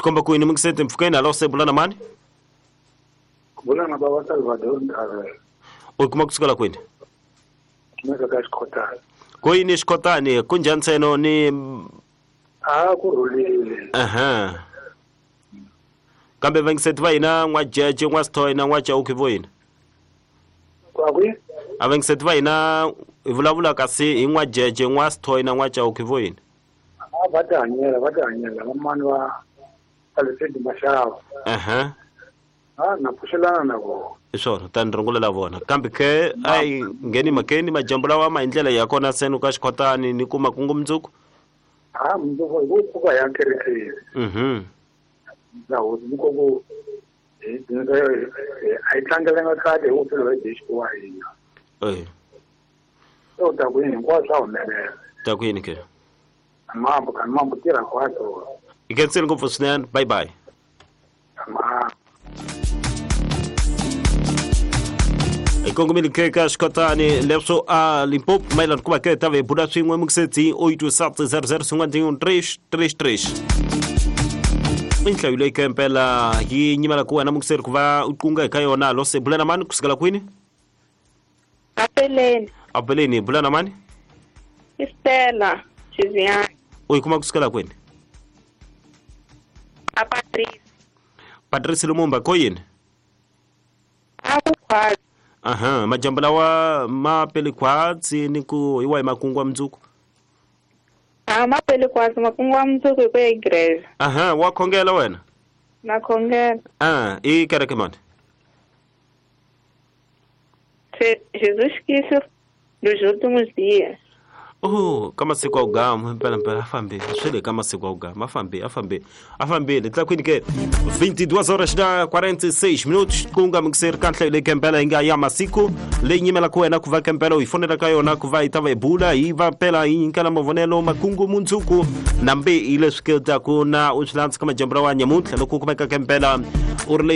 Swi komba ku yini mingiseti mpfhukeni hala se bula na mani? Bula na baba Salvador Ndavela. U kuma kusukela kwini? Kumeka ka Xikhotani. Ku yini Xikhotani? Ku njhani ntseno ni A ku rhulile. Aha. Kambe vangiseti va hina n'wajeje, n'wasithoyi na n'wachauki vo yini? Kwa kwi? A vangiseti va hina hi vulavula kasi hi n'wajeje, n'wasithoyi na n'wachauki vo yini? A va tihanyela, va tihanyela vamani va Alfred Mashava. Aha. A na pfuxelana na vona. Hi swona, tani rungulela vona. Kambe ke a yi ngheni mhakeni majambu lawa ma hi ndlela ya kona seno ka Xikhotani ni kuma kungu mundzuku? A mundzuku hi ku pfuka ya kerekeni. Na hosi ni ku hi a yi tlangelenga kahle hi ku phela hi wa hina. Eh. Se u ta ku yini hinkwaswo swa humelela. Ta ku yini ke? Mambo kan mambo tirha kwatso. Hi khensile ngopfu swinene. Bye bye. Ma hi kongomile ke ka Xikhotani leswo a Limpopo mayelana ku va ke ta ve bula swin'we mukisetsi 8 00 51 3 3 3 i nhlayo leyi ke mpela yi nyimela ku wena mukiseri ku va u qunga eka yona lo se bula na mani kusukela kwini? Apeleni. Apeleni bula na mani? I Stella Chiziani. U yi kuma kusukela kwini? A Patrice. Patrice Lumumba ko yini? A ku khwatsi. Aha, majambu lawa ma pele khwatsi ni ku hi wahi makungu wa mundzuku? A ma pele khwatsi makungu wa mundzuku hi ku ya igreja. Aha, wa khongela wena? Na khongela. Ah, i kereke mani? Jesus Cristo dos últimos dias. Oh, ka masiku a ugama mpela mpela a fambile swi le ka masiku a ugama a fambile a fambile a fambile tlakwini ke 22 horas na 46 minutos ku nga mixer ka nhlayo leyi kempela yi nga ya masiku leyi nyimelaka wena ku va kempela u yi fonela ka yona ku va yi ta va yi bula yi va pela yi nyikela mavonelo makungu mundzuku nambe hi leswi ke taku na u swi landza ka majambu lawa nyamuntlha loko u kumeka kempela u ri leyi.